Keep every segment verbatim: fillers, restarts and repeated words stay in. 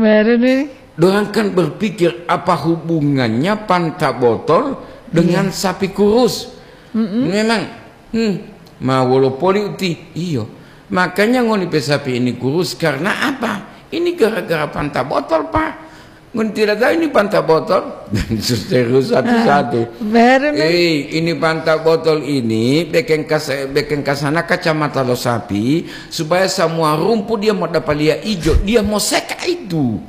Baru nih. Dorang kan berpikir, apa hubungannya pantat botol dengan sapi kurus? Memang, hmm, ma wolo poli uti. Iyo. Makanya ngoni pe sapi ini kurus karena apa? Ini gara-gara pantat botol, Pak. Ngoni tidak tahu ini pantat botol? Dan seterus satu-satu. Baru nih. Eh, ini pantat botol ini bekeng kas-, bekeng kasana kacamata lo sapi supaya semua rumput dia mau dapat lihat hijau, dia mau seka itu.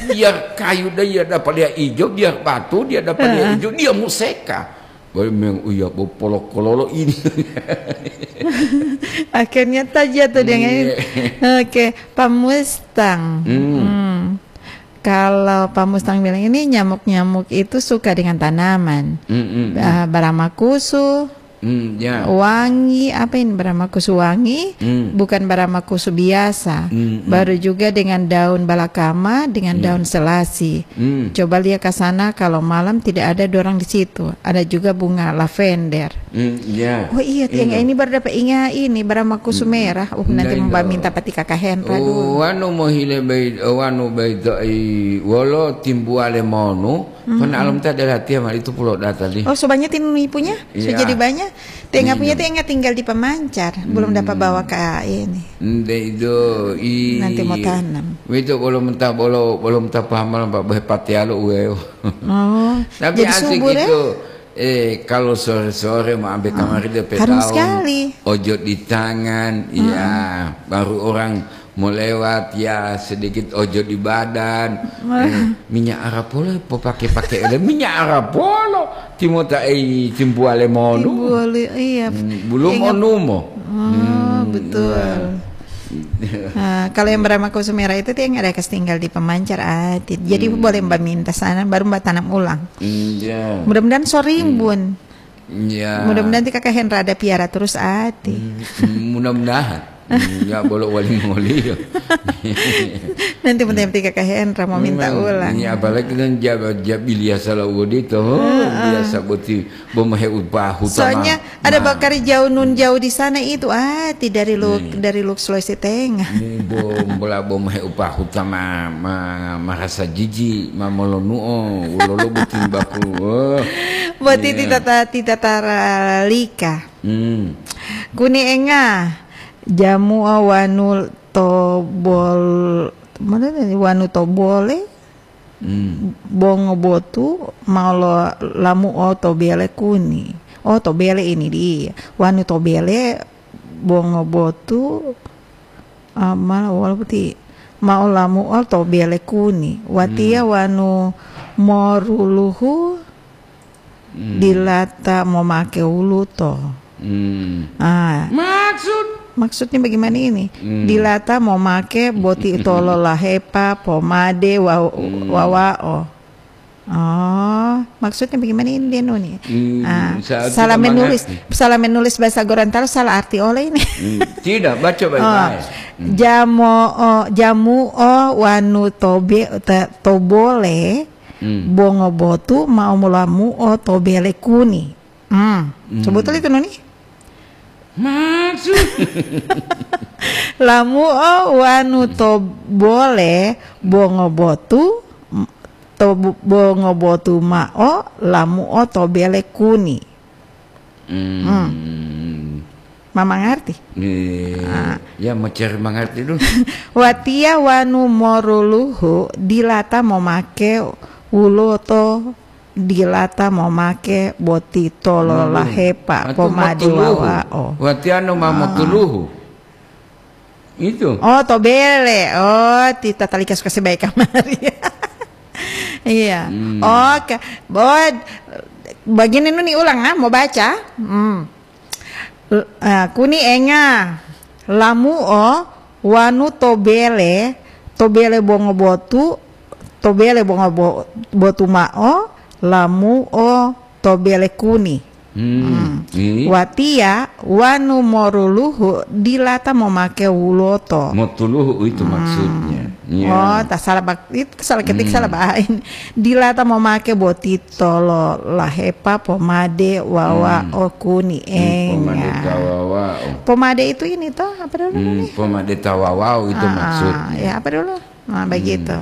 Biar kayu dia dapat lihat hijau, biar batu dia dapat lihat hijau, dia mau seka. Baru memang, "Iya, bo polok kololo ini." Akhirnya tajatuh dia, kan? Iya. Oke, Pak Mustang. Hmm. Hmm. Kalau Pak Mustang bilang ini nyamuk-nyamuk itu suka dengan tanaman. Hmm, hmm, hmm. Ah, baramakusu, Hmm, ya. Wangi, apa ini baramakusu wangi? Hmm. Bukan baramakusu biasa. Hmm, hmm. Baru juga dengan daun balakama, dengan daun selasi. Hmm. Coba lihat ke sana kalau malam tidak ada dorang di situ. Ada juga bunga lavender. Hmm, ya. Oh iya, tiang ini baru dapat ingat ini baramakusu merah. Uh, nanti mau minta pati kakahen, Pak. Oh, anu mohile bai, oh, anu bai to ai wolo timbuale monu. Pana alom ta adalah tiang itu pulo data li. Oh, sobanya tinu ipunya? Iya. Sudah jadi banyak. Tenga punya tenga tinggal di pemancar, belum dapat bawa ke ini. Nde itu, i- Nanti mau tanam. Itu belum entah, belum, belum entah paham, Pak, bohe patialo uweo. Oh, tapi jadi asik subur, ya? Itu, eh, kalau sore-sore mau ambil kamar itu harum pedau, sekali. Ojo di tangan, ya, baru orang mau lewat, ya, sedikit ojo di badan. Eh, minyak arapolo popake-pake ele minyak arapolo. Timota ei timbuale monu. Timbuale, iya. Hmm, belum onumo. Oh, betul. Nah, kalau yang bernama Kusumera itu dia nggak ada kas tinggal di pemancar, ah, ti-, jadi boleh Mbak minta sana, baru Mbak tanam ulang. Iya. Mudah-mudahan sorimbun. Iya. Mudah-mudahan nanti Kakak Hendra ada piara terus, ah, ti. Hmm, mudah-mudahan. Hmm, ya, bolok wali mongoliyo. Nanti penting-penting Kakak Hendra mau minta ulang. Ini apalagi kan jab-, jabilia salah uwodito. Biasa boti bomahe upahu. Soalnya ada bakari jauh nun jauh di sana itu, ah, ti dari Luk-, dari Luk Sulawesi Tengah. Ini bom bola bomahe upahu tama ma-, marasa jiji, ma molonuo, ulolo butimbaku. Oh. Boti titata, titata ralika. Hmm. Kuni enga, jamu'a wanu tobol-, mana ni, wanu tobole, hmm, bongo botu, mao lo lamu'o to bele kuni. Oh, to bele ini di. Wanu to bele, bongo botu, ah, mana wala peti. Mao lamu'o to bele kuni. Watiya wanu moruluhu, hmm, dilata momake wuluto. Hmm. Ah. Maksud? Maksudnya bagaimana ini? Hmm. Dilata momake boti tolo lahepa, pomade, wa-, wawao. Oh, maksudnya bagaimana ini dia, Nuni? Hmm, ah, salah menulis, salah menulis bahasa Gorontalo, salah arti oleh ini. Hmm, tidak, baca baik-baik. Oh, hmm. Jamo, oh, jamu o wanu tobe, te-, tobole, hmm, bongo botu mao molamu'o to bele kuni. Hmm. Hmm. Sebutul itu, Nuni? Maksud? Lamu'o wanu to bole bongo botu, to bu-, bongo botu mao lamu'o to bele kuni. Hmm. Hmm. Ma mangarti? Eh, ah, ya, mencari mangarti dulu. Watiya wanu moruluhu dilata momake wuluto, dilata momake boti tolo lahepa, pomade wawao. Watiya anu ma motuluhu. Itu. Oh, to bele. Oh, ti tatalika suka sebaik kamari. Iya. Hmm. Oke. Bod, begini, Nuni, ulang, ah, mau baca. Hmm. L-, ah, kuni enga, lamu'o wanu to bele, to bele bongo botu, to bele bongo bo-, botu mao, lamu'o to bele kuni. Hmm. Hmm. Watiya wanu moruluhu dilata momake wuloto. Motuluhu itu maksudnya. Iya. Oh, tak salah bak-, itu salah ketik, salah bahain. Dilata momake boti tolo lahepa, pomade, wawao, kuni, enga. Hmm, pomade tawawao. Pomade itu ini toh, apa dulu ini? Pomade tawawao itu maksudnya. Ya, apa dulu? Nah, begitu.